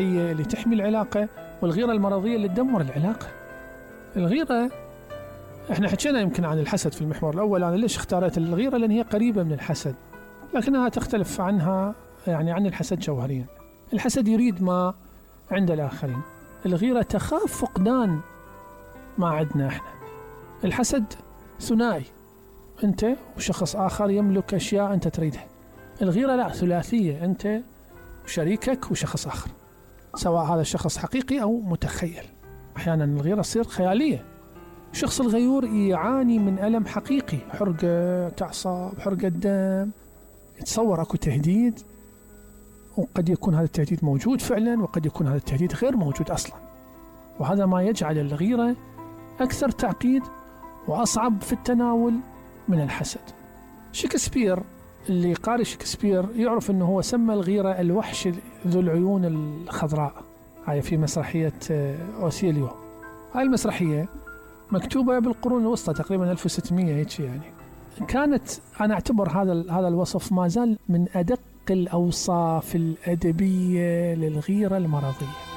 الصحية اللي تحمي العلاقة، والغيرة المرضية اللي تدمر العلاقة. الغيرة احنا حكينا يمكن عن الحسد في المحور الأول. أنا ليش اختارت الغيرة؟ لأن هي قريبة من الحسد، لكنها تختلف عنها يعني عن الحسد جوهريا. الحسد يريد ما عند الآخرين، الغيرة تخاف فقدان ما عندنا احنا. الحسد ثنائي، انت وشخص آخر يملك أشياء انت تريدها. الغيرة لا، ثلاثية، انت وشريكك وشخص آخر، سواء هذا الشخص حقيقي أو متخيل. أحيانا الغيرة تصير خيالية. الشخص الغيور يعاني من ألم حقيقي، حرقة أعصاب، حرقة دم، يتصور أكو تهديد، وقد يكون هذا التهديد موجود فعلا، وقد يكون هذا التهديد غير موجود أصلا. وهذا ما يجعل الغيرة أكثر تعقيد وأصعب في التناول من الحسد. شكسبير، اللي قارئ شكسبير يعرف أنه هو سمى الغيرة الوحش ذو العيون الخضراء. هاي في مسرحية أوسيليو. هاي المسرحية مكتوبة بالقرون الوسطى تقريبا 1600 هيك يعني. كانت أنا أعتبر هذا الوصف ما زال من أدق الأوصاف الأدبية للغيرة المرضية.